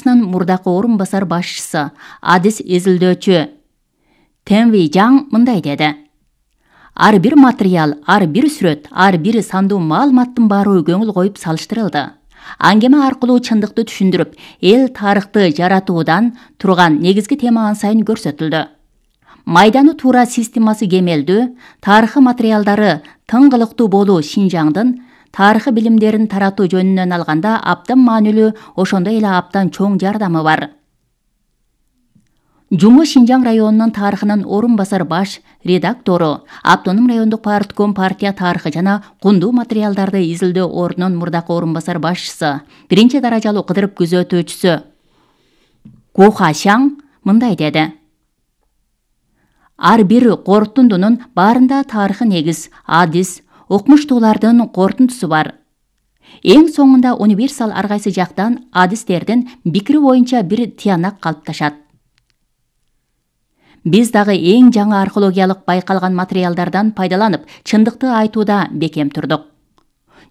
Мурдакы орун басар башчысы, адис изилдөөчү Тенви Жаң мындай деди. Ар бир материал, ар бир сүрөт, ар бир сандуу маалыматтын баары көңүл коюп салыштырылды. Аңгеме аркылуу чындыкты түшүндүрүп, эл тарыхты жаратуудан турган негизги тема ан сайын көрсөтүлдү. Майданы туура системасы кемелдүү, тарыхы материалдары тыңгылыктуу болуу Шинжаңдын тарыхы билимдерин таратуу жөнүнөн алганда абдан маанилүү, ошондой эле абдан чоң жардамы бар. Жуму Шинжаң районунун тарыхынын орун басар баш редактору, Автоном райондук партком партия тарыхы жана кундуу материалдарды изилдөө ордунун мурдакы орун басар башчысы, биринчи даражалуу кыдырып күзөтүүчүсү Ку Хашаң мындай деди. Ар бир корутундунун баарында тарыхы негиз, адис, окумуштуулардын корутундусу бар. Эң соңунда универсал ар кайсы жактан адистердин пикири боюнча бир тыянак калыпташат. Биз дагы эң жаңы археологиялык байкалган материалдардан пайдаланып, чындыкты айтууда бекем турдук.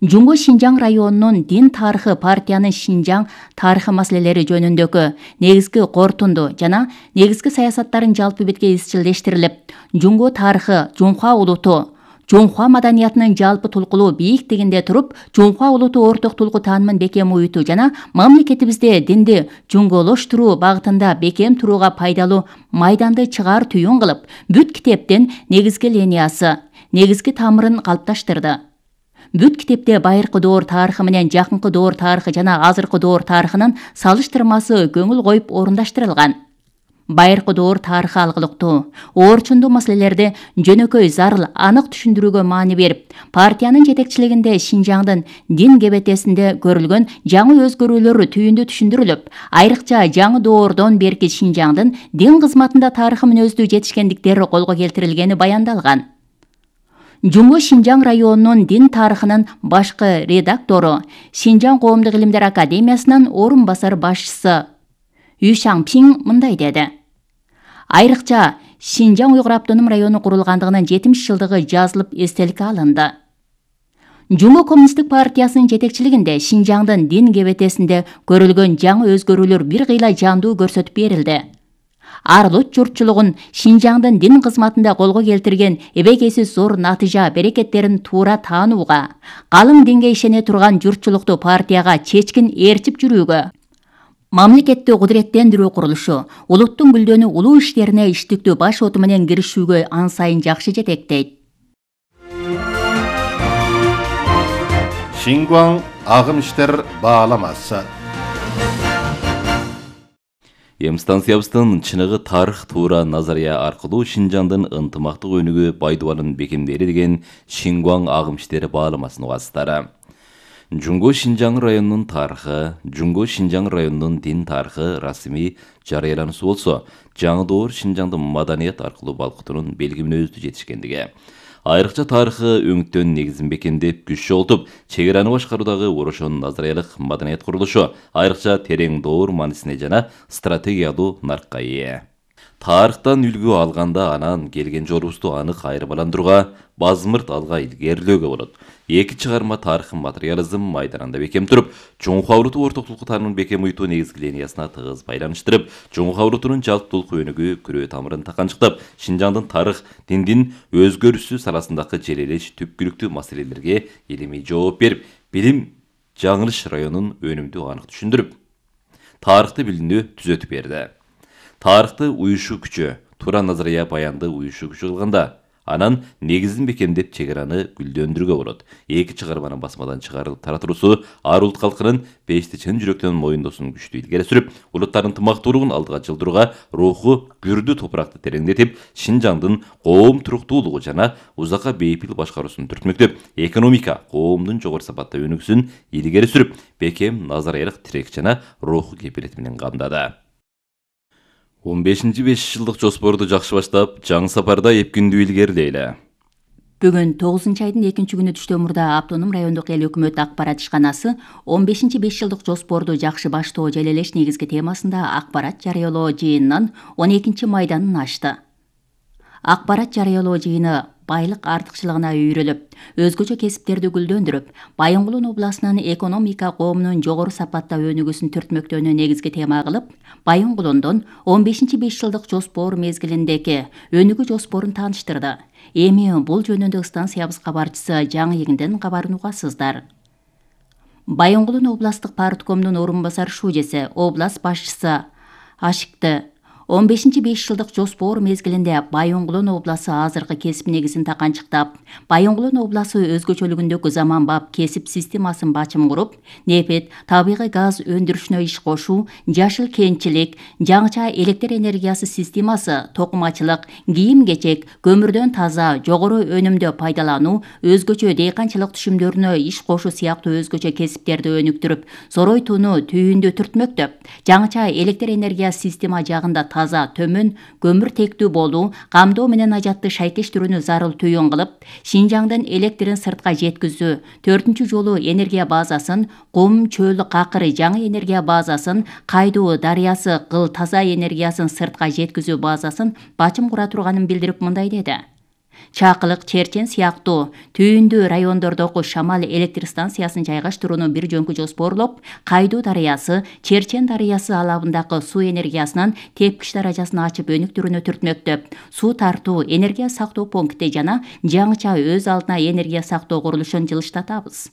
Жуму Шинжаң районунун дин тарыхы партиянын Шинжаң тарыхы маселелери жөнүндөгү негизги корутунду жана негизги саясаттарын жалпы бетке изчилдештирилип, Жумгу тарыхы, Жунхва улуту, Жунхва маданиятынын жалпы тулкулуу бийиктигинде туруп, Жунхва улуту орток тулку таанымын бекем уютуу жана мамлекетибизде динди жуңголоштуруу багытында бекем турууга пайдалуу майданды чыгаар түйүн кылып, бүт китептин негизги линиясы, негизги тамырын калыпташтырды. Бүт китепте байыркы доор тарыхы менен жакынкы доор тарыхы жана азыркы доор тарыхынын салыштырмасы көңүл коюп орундаштырылган. Байыркы доор тарыхы алгылыктуу, оорчундуу маселелерди жөнөкөй, зарыл, анык түшүндүрүүгө маани берип, партиянын жетекчилигинде Шинжаңдын дин кебетесинде көрүлгөн жаңы өзгөрүүлөр түйүндү түшүндүрүлүп, айрыкча жаңы доордон берки Шинжаңдын дин кызматында тарыхы мүнөздүү жетишкендиктери колго келтирилгени баяндалган. Жуму Шинжаң районунун дин тарыхынын башкы редактору, Шинжаң коомдук илимдер академиясынын орун басар башчысы Ю Шаңпиң мындай деди. Айрыкча Шинжаң Уйгур автоном району курулгандыгынын 70 жылдыгы жазылып эстеликке алынды. Жуму коммунисттик партиясынын жетекчилигинде Шинжаңдын дин кебетесинде көрүлгөн жаңы өзгөрүүлөр бир кыйла жандуу көрсөтүп берилди. Ар улут журтчулугун Шинжаңдын дин кызматында колго келтирген эбегейсиз зор натыйжа берекеттерин туура таанууга, калың динге ишене турган журтчулукту партияга чечкин ээрчип жүрүүгө, мамлекетти кудуреттендирүү курулушу, улуттун гүлдөнүү улуу иштерине иштиктүү баш оту менен киришүүгө ан сайын жакшы жетектейт. Шингуаң агым иштер бааламасы. Станциябыздын чыныгы тарых туура назария аркылуу Шинжаңдын ынтымактык өнүгүү байдубанын бекемдери деген Шингуаң агым иштери бааламасынын угасыздары. Жумгу Шинжаң районунун тарыхы, Жумгу Шинжаң районунун дин тарыхы расмий жарыялануусу болсо, жаңы доор Шинжаңдын маданият аркылуу балкытуунун белги мүнөздүү жетишкендиги. Айрыкча тарыхы өңүттөн негизин бекемдеп, күч чогултуп, чек араны башкаруудагы орошон назариялык маданият курулушу айрыкча терең доор маанисине жана стратегиялуу наркка ээ. Тарыхтан үлгү алганда анан келген жолубузду анык айырмаландырууга, базмырт алга илгерилөөгө болот. Эки чыгарма тарыхы материализм майданында бекем туруп, Жунхва улуту орток тулку таанымын бекем уютуу негизги линиясына тыгыз байланыштырып, Жунхва улутунун жалпы тулку өнүгүү күрөө тамырын таканчыктап, Шинжаңдын тарых, диндин өзгөрүшү саласындагы желелеш түпкүлүктүү маселелерге илимий жооп берип, билим жаңылыш районун өнүмдүү анык түшүндүрүп, тарыхты билүүнү түзөтүп берди. Тарыхты уюшуу күчү, туура назария баянды уюшуу күчү кылганда, анан негизин бекемдеп чек араны гүлдөндүрүүгө болот. Эки чыгарманын басмадан чыгарылып таратуусу ар улут калкынын бешти чын жүрөктөн моюндоосун күчтүү илгери сүрүп, улуттардын ынтымактуулугун алга жылдырууга, руху күрдүү топуракты тереңдетип, Шинжаңдын коом туруктуулугу жана узакка бейпил башкаруусун түртмөктөп, экономика, коомдун жогору сапатта өнүгүүсүн илгери сүрүп, бекем назариялык тирек жана руху кепилети менен камдады. 15-5 жылдык жоспорду жакшы баштап, жаңы сапарда эпкиндүү илгерилейли. Бүгүн 9-айдын 2-күнү Түштөмурда Автоном райондук эл өкмөт акпарат ишканасы 15-5 жылдык жоспорду жакшы баштоо желелеш негизги темасында акпарат жарыялоо жыйынынан 12 майданын ачты. Акпарат жарыялоо жыйыны байлык артыкчылыгына үйрөлүп, өзгөчө кесиптерди гүлдөндүрүп, Байонгулун областынын экономика коомунун жогору сапатта өнүгүүсүн түртмөктөөнү негизги тема кылып, Байонгулундун 15-5 жылдык жоспор мезгилиндеги өнүгүү жоспорун тааныштырды. Эми бул жөнүндө станциябыз кабарчысы Жаңы Эгинден кабарын угасыздар. Байонгулун областтык парткомдун орун басар шужеси, област башчысы Ашыкты 15-5 жылдык жоспор мезгилинде Байонгулун обласы азыркы кесип негизин таканчыктап, Байонгулун обласы өзгөчөлүгүндөгү заманбап кесип системасын бачым куруп, нефть, табигый газ өндүрүшүнө иш кошуу, жашыл кенчилик, жаңыча электр энергиясы системасы, токумачылык, кийим-кечек, көмүрдөн таза, жогору өнүмдө пайдалануу, өзгөчө дыйканчылык түшүмдөрүнө иш кошуу сыяктуу өзгөчө кесиптерди өнүктүрүп, Сорой-Тууну түйүндө түртмөктөп, жаңыча электр энергиясы система жагында таза, төмөн, көмүр тектүү болуу, камдоо менен ажатты шайкештирүүнү зарыл түйүн кылып, Шинжаңдын электрин сыртка жеткизүү, 4 жолу энергия базасын, Кум, Чөл, Какыр жаңы энергия базасын, Кайдуу дарыясы Кыл таза энергиясын сыртка жеткизүү базасын бачым кура турганын билдирип мындай деди. Чакылык, Черчен сыяктуу түйүндүү райондордогу Шамал электр станциясын жайгаштырууну бир жөнкү жоспорлоп, Кайдуу дарыясы, Черчен дарыясы алабындагы суу энергиясынын тепкич даражасын ачып өнүктүрүүнү түртмөктөп, суу тартуу, энергия сактоо пункти жана жаңыча өз алдына энергия сактоо курулушун жылыштатабыз.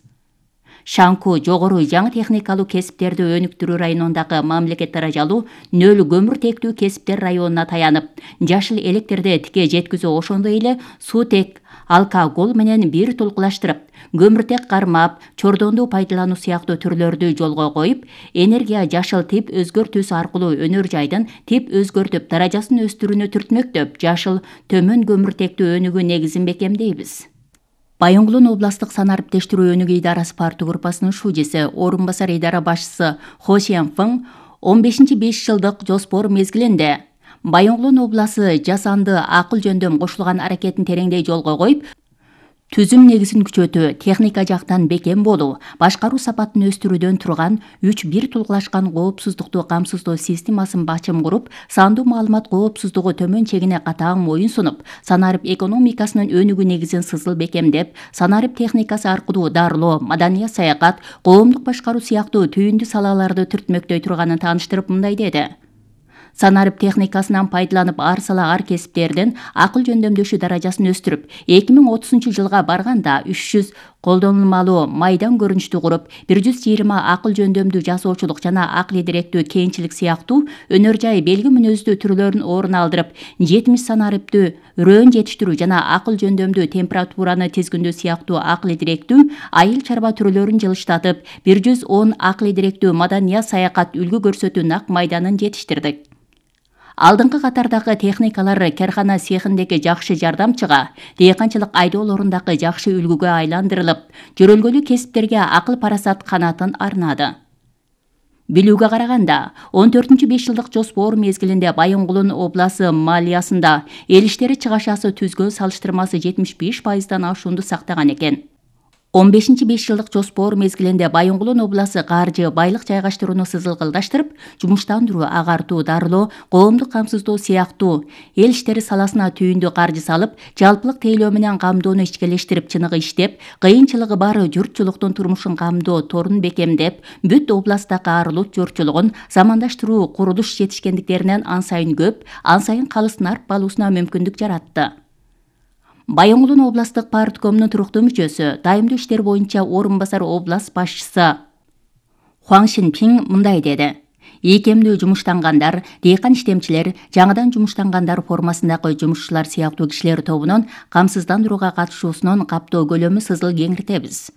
Шанку жогору жаңы техникалуу кесиптерди өнүктүрүү районундагы мамлекет даражалуу 0 көмүр тектүү кесиптер районуна таянып, жашыл электрди тике жеткизүү ошондой эле суутек, алкоголь менен бир тулкулаштырып, көмүртек кармап, чордонду пайдалануу сыяктуу түрлөрдү жолго коюп, энергия жашыл тип өзгөртүүсү аркылуу өнөр жайдын тип өзгөртүп, даражасын өстүрүүнү түртмөктөп, жашыл төмөн көмүртектүү өнүгүү негизин бекемдейбиз. Байонгулун областтык санариптештирүү өнүгүү идарасы парты группасынын шужеси, орун басар идара башчысы Хо Шенфeng 15-5 жылдык жоспор мезгилинде Байонгулун обласы жасанды акыл жөндөм кошулган аракетин тереңдей жолго коюп, түзүм негизин күчөтүү, техника жактан бекем болуу, башкаруу сапатын өстүрүүдөн турган 3 тулгулашкан коопсуздукту камсыздоо системасын бачым куруп, сандуу маалымат коопсуздугу төмөн чегине катаң моюн сунуп, санарип экономикасынын өнүгүү негизин сызыл бекемдеп, санарип техникасы аркылуу дарылоо, маданият саякат, коомдук башкаруу сыяктуу түйүндүү салаларды түртмөктөй турганын тааныштырып мындай деди. Санарип техникасынан пайдаланып, ар сала ар кесиптердин акыл жөндөмдөшүү даражасын өстүрүп, 2030 жылга барганда 300 колдонулмалуу майдан көрүнүштү куруп, 120 акыл жөндөмдүү жасоочулук жана акыл идиректүү кенчилик сыяктуу өнөр жай белги мүнөздүү түрлөрүн орун алдырып, 70 санариптүү рөөн жетиштирүү жана акыл жөндөмдүү температураны тизгиндөө сыяктуу акыл идиректүү айыл чарба түрлөрүн жылыштатып, 110 акыл идиректүү маданият саякат үлгү көрсөтүү нак майданын жетиштирдик. Алдыңкы катардагы техникалар кархана цехиндеги жакшы жардамчыга, дыйканчылык айдоолорундагы жакшы үлгүгө айландырылып, жөрөлгөлүү кесиптерге акыл парасат канатын арнады. Билүүгө караганда, 14-5 жылдык жоспор мезгилинде Байонгулун обласы малиясында эл иштери чыгашасы түзгө салыштырмасы 75%дан ашуунду сактаган экен. 15-5 жылдык жоспор мезгилинде Байонгулун обласы каржы, байлык жайгаштырууну сызылгылдаштырып, жумуштандыруу, агартуу, дарылоо, коомдук камсыздоо сыяктуу эл иштери саласына түйүндүү каржы салып, жалпылык тейлөө менен камдоону ичкелештирип, чыныгы иштеп, кыйынчылыгы бар журтчулуктун турмушун камдоо торун бекемдеп, бүт областтагы арылут журтчулугун замандаштыруу, курулуш жетишкендиктеринен ан сайын көп, ан сайын калыс нарп алуусуна мүмкүндүк жаратты. Байонгулун областтык парткомунун туруктуу мүчөсү, дайымдуу иштер боюнча орун басар област башчысы Хуан Шинпин мындай деди. Ийкемдүү жумуштангандар, дыйкан иштемчилер, жаңыдан жумуштангандар формасындагы жумушчулар сыяктуу кишилер тобунун камсыздандырууга катышуусунун каптоо көлөмү сызыл кеңиртебиз.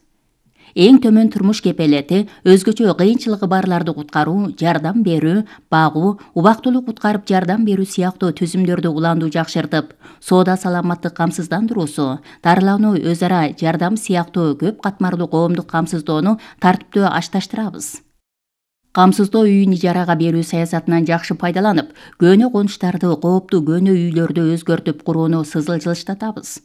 Эң төмөн турмуш кепелети, өзгөчө кыйынчылыгы барларды куткаруу, жардам берүү, багуу, убактылуу куткарып жардам берүү сыяктуу түзүмдөрдү уландуу жакшыртып, соода саламаттык камсыздандыруусу, дарылануу, өз ара жардам сыяктуу көп катмарлуу коомдук камсыздоону тартиптүү ашташтырабыз. Камсыздоо үйүн ижарага берүү саясатынан жакшы пайдаланып, көнө конуштарды, кооптуу көнө үйлөрдү өзгөртүп курууну сызыл жылыштатабыз.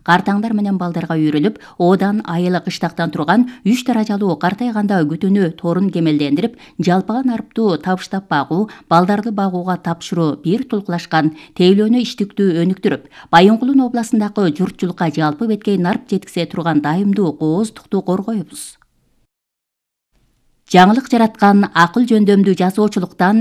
картаңдар менен балдарга үйрөлүп, оодан айылы кыштактан турган 3 даражалуу картайганда күтүүнү торун кемелдендирип, жалпыган арыптуу табыштап багуу, балдарды багууга тапшыруу бир тулкулашкан тейлөөнү иштиктүү өнүктүрүп, Байынгулдун областындагы журтчулукка жалпы беткей нарп жеткизе турган дайымдуу кооздукту коргойбуз. Жаңылык жараткан акыл жөндөмдүү жазуучулуктан